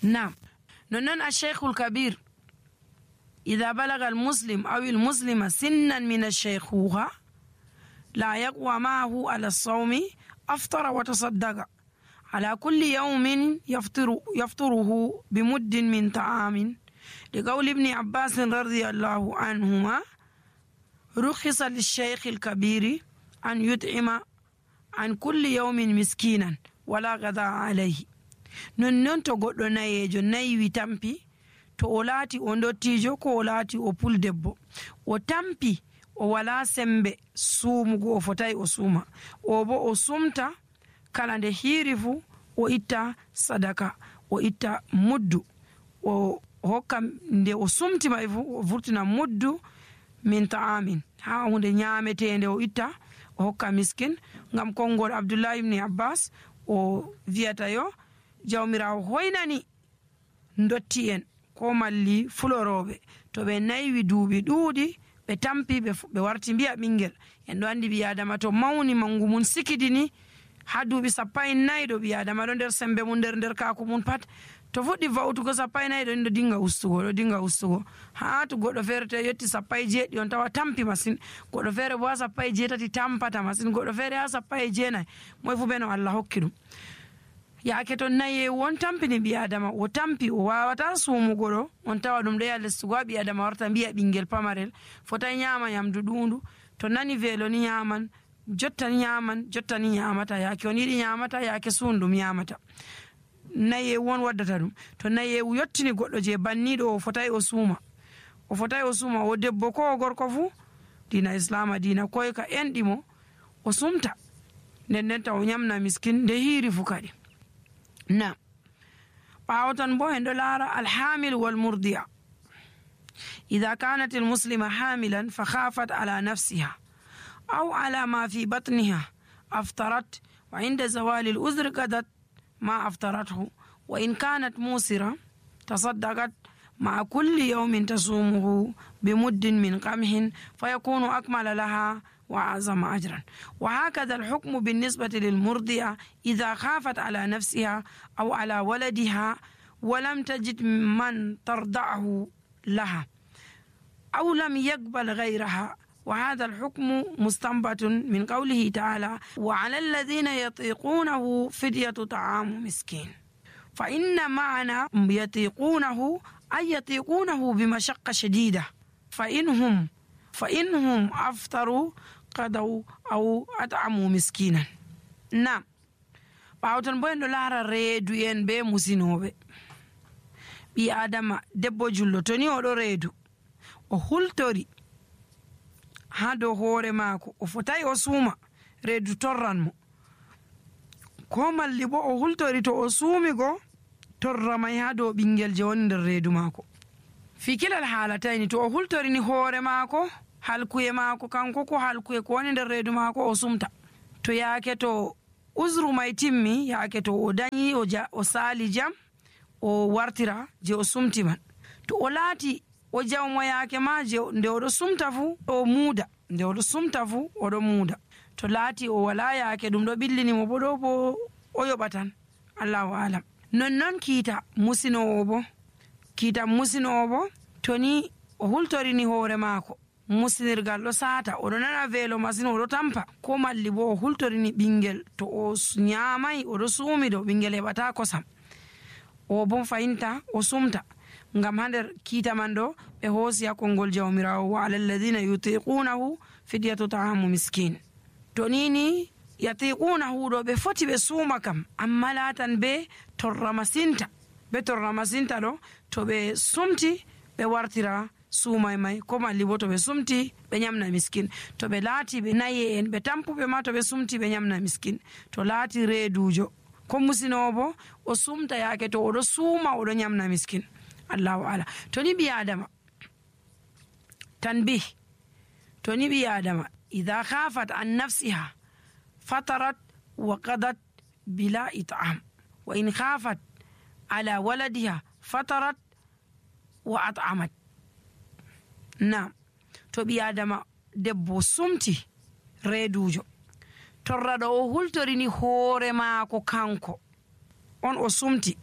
نعم. نونن الشيخ الكبير إذا بلغ المسلم أو المسلمة سنا من الشيخوخة لا يقوى معه على الصوم أفطر وتصدق على كل يوم يفطره بمد من طعام، لقول ابن عباس رضي الله عنهما: رخص للشيخ الكبير أن يطعم عن كل يوم مسكينا ولا غذاء عليه. نون تو goddo nayejo nayi tampi to o laati o dottijo ko o laati o puldebbo o tampi o wala sembe suumugo o fotai o suuma o bo o sumta kala nde hiiri fu o itta sadaka o itta muddu o hokka nde o sumti mai fu o vurtina muddu min ta'amin ha hunde nyametende o itta o hokka miskin. Ngam kongol Abdullah ibn Abbas o viyata yo jawmirawo hoynani ndotti en ko malli fulorobe to be naywi duubi duudi be tampi be warti biya bingel en do andi biya adama to mawni mangu mun sikidini ha duubi 14 do biya adama do nder sembe mun nder kaku mun pat to fuddi vawtugo 14 do dinga ustugo ha to goddo fere te yetti 17 on tawa tampi masin, goddo fere bo 17 tampata masin, goddo fere ha 19 moy fu beno Allah hokkidum yaake to naye won tampini bi adama o tampi o wawata suumugo do on tawa dum de yalle sugo bi adama warta biya bingel pamarel fota nyama yamdu dundu to nani velo ni nyaman jottani nyamata yaake on yidi nyamata yaake sundum nyamata naye won waddata dum to naye yottini goddo je bannido o fotai o suuma o debbo ko gorko fu dina islama dina koy ka endimo o sumta nden ta o nyamna miskin de hiiri fu kadi. نعم. باوتن بو هندو لارا الحامل والمرضع إذا كانت المسلمة حاملا فخافت على نفسها أو على ما في بطنها أفطرت، وعند زوال الأذر قدت ما أفطرته، وإن كانت موسرة تصدقت مع كل يوم تصومه بمد من قمح فيكون أكمل لها وأعظم أجرا. وهكذا الحكم بالنسبة للمرضعة إذا خافت على نفسها أو على ولدها ولم تجد من ترضعه لها أو لم يقبل غيرها، وهذا الحكم مستنبط من قوله تعالى: وعلى الذين يطيقونه فدية طعام مسكين. فإن معنى يطيقونه أي يطيقونه بمشقة شديدة، فإنهم أفطروا قدوا أو أطعموا مسكينا. نعم. باوتن بوين دولار ريدو ين بي مسينوبي بي آدم دبو جلو توني ودو ريدو o hultori ha dow hoore maako o fotai o suuma reedu torran mo, ko malli bo o hultori to o suumi go torra mai ha dow bingel je woni nder reedu maako. fi kilal haalatayni to o hultorini hoore maako halkuye maako kanko ko halkuye ko woni nder reedu maako o sumta, to yaake to uzru mai timmi yaake to o dañi o saali jam o wartira je o sumti man, to o laati o jawmo yaake ma je nde oɗo sumta fu o muuda, nde oɗo sumta fu oɗo muuda, to laati o wala yaake ɗum ɗo ɓillinimo bo ɗo bo o yoɓatan, allahu alam. nonnon kiita musinowo bo to ni o hultorini hoore maako musinirgal ɗo saata oɗo nana veelo masin oɗo tampa, ko malli bo o hultorini ɓingel to o nyamai oɗo suumi ɗo ɓingel heɓata kosam, o bo fayinta o sumta. ngam ha nder kiita man ɗo ɓe hoosi ha konngol jawmirawo: wa ala alladhina yutiqunahu fidyatu ta'amu miskin. to nini yatiqunahu ɗo ɓe foti ɓe suuma kam, amma laatan be torra masinta ɗo to ɓe sumti ɓe wartira suumai mai, ko malli bo to ɓe sumti ɓe nyamna miskin, to ɓe laati ɓe naye en ɓe tampuɓe ma to ɓe sumti ɓe nyamna miskin, to laati reedujo ko musinowo bo o sumta yaake to oɗo suuma oɗo nyamna miskin, allahu ala. to ni ɓi adama tanbih, to ni ɓi adama idha khafat an nafsiha fatarat wa qadat bila it'am, wa in khafat ala waladiha fatarat wa at'amat. na to ɓi adama debbo sumti reedujo torraɗo o hultorini hoore maako kanko on o sumti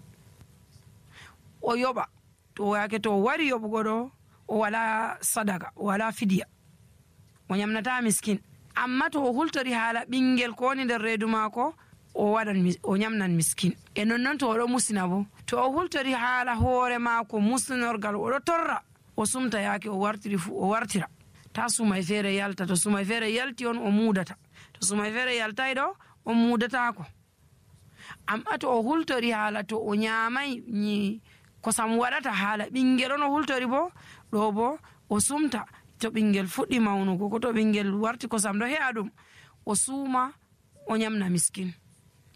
o yoɓa, to yake to o wari yoɓugo ɗo o wala sadaka, o wala fidiya, o nyamnata miskin. amma to o hultori haala ɓingel ko woni nder reedu maako o nyamnan miskin. E nonnon to oɗo musina bo, to o hultori haala hoore maako muslinorgal oɗo torra, o sumta yaake o wartiri fu o wartira, ta sumay feere yalta. To sumay feere yalti on o muudata, to sumay feere yaltay ɗo on muudatako. amma to o hultori haala to o nyamay kosam waɗata haala ɓingel on o hultori bo, ɗo bo o sumta. To ɓingel fuɗɗi mawnugo ko to ɓingel warti kosam ɗo he'a ɗum, o suuma o nyamna miskin.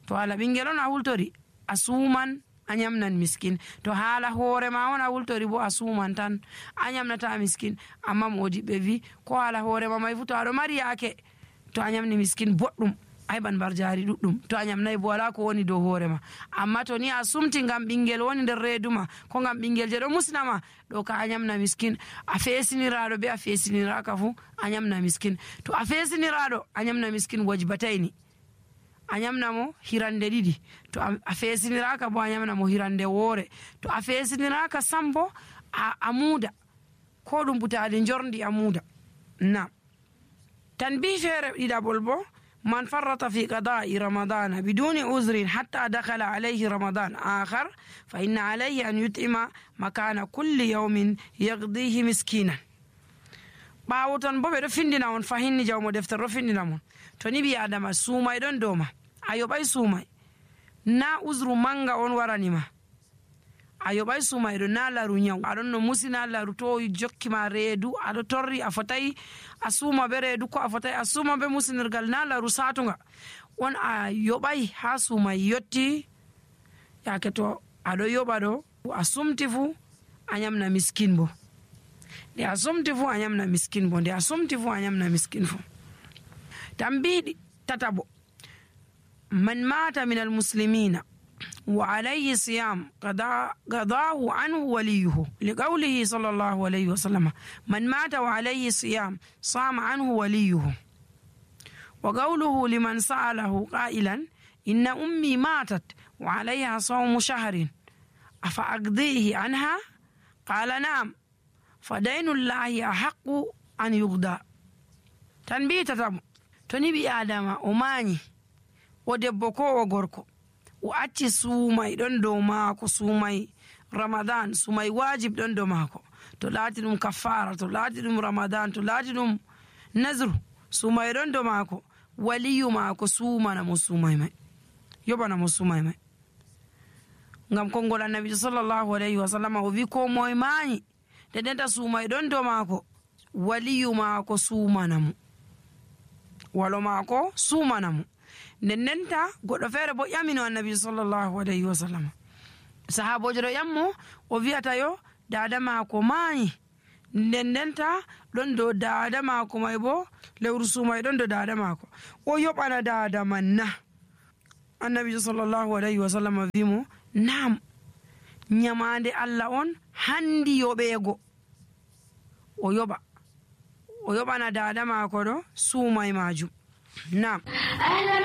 to haala ɓingel on a hultori a suuman a nyamnan miskin. to haala hoore ma on a hultori bo a suuman tan a nyamnata miskin. amma modiɓɓe wi ko haala hoore ma may fu to aɗo mari yaake to a nyamni miskin boɗɗum a heɓan bar jari ɗuɗɗum. to a nyamnayi bo wala ko woni dow hoore ma. amma to ni a sumti ngam ɓingel woni nder reedu ma, ko ngam ɓingel je ɗo musnama, ɗo ka a nyamna miskin. a feesiniraɗo be a feesiniraka fu a nyamna miskin. to a feesiniraɗo a nyamna miskin wajbatayni, a nyamna mo hirande ɗiɗi. to a feesiniraka bo a nyamna mo hirande woore. to a feesiniraka sambo a muuda, ko ɗum butali jorndi a muuda. na tan bi feere ɗiɗaɓol bo, من فرط في قضاء رمضان بدون عذر حتى دخل عليه رمضان آخر فإن عليه أن يطعم مكان كل يوم يقضيه مسكينا. ɓawoton bo ɓe ɗo findina on fahinni jawmo deftere ɗo findina mon, to ni ɓi adama suumay ɗon dow ma, a yoɓay suumay, na usru manga on waranima, a yoɓay suumay ɗo, na laru nyaw, aɗon no musina laru to jokkima reedu aɗo torri a fotayi a suuma be reedu, ko a fotayi a suuma be musinirgal, na laru satunga on a yoɓay ha suumay yotti. yake to aɗo yoɓa ɗo a sumti fu a nyamna miskin bo, nde a sumti fu a nyamna miskin bo, nde a sumti fu a nyamna miskin fu. tan mbiɗi tatabo, man mata min almuslimina وعليه صيام قضاه عنه وليه لقوله صلى الله عليه وسلم من مات وعليه صيام صام عنه وليه. وقوله لمن سأله قائلا إن أمي ماتت وعليها صوم شهر أفأقضيه عنها قال نعم فدين الله أحق أن يقضى. تنبيه تتم تنبي آدم أماني ودبكو وغركو o acci suumay ɗon dow maako, suumay ramadan, suumay wajib ɗon dow maako, to laati ɗum kaffara, to laati ɗum ramadan, to laati ɗum nasru, suumay ɗon dow maako, waliyu maako suumana mo suumay may, yoɓana mo suumay may. ngam konngol annabijo sallllahu alayhi wa sallam o wi ko moye maayi nde ndenta suumay ɗon dow maako, waliyu maako suumana mo, walo maako suumana mo. nden ndenta goɗɗo feere bo ƴamino annabijo sallllahu alayhi wa sallam, sahabojo ɗo ƴammo o wiyata yo dada maako maayi, nden ndenta ɗon dow dada maako may bo lewru suumay ɗon dow dada maako, o yoɓana dada man na? annabijo sallllahu alayhi wa sallam wimo nam, nyamande allah on handi yoɓeego, o yoɓana dada maako ɗo suumay majum. nam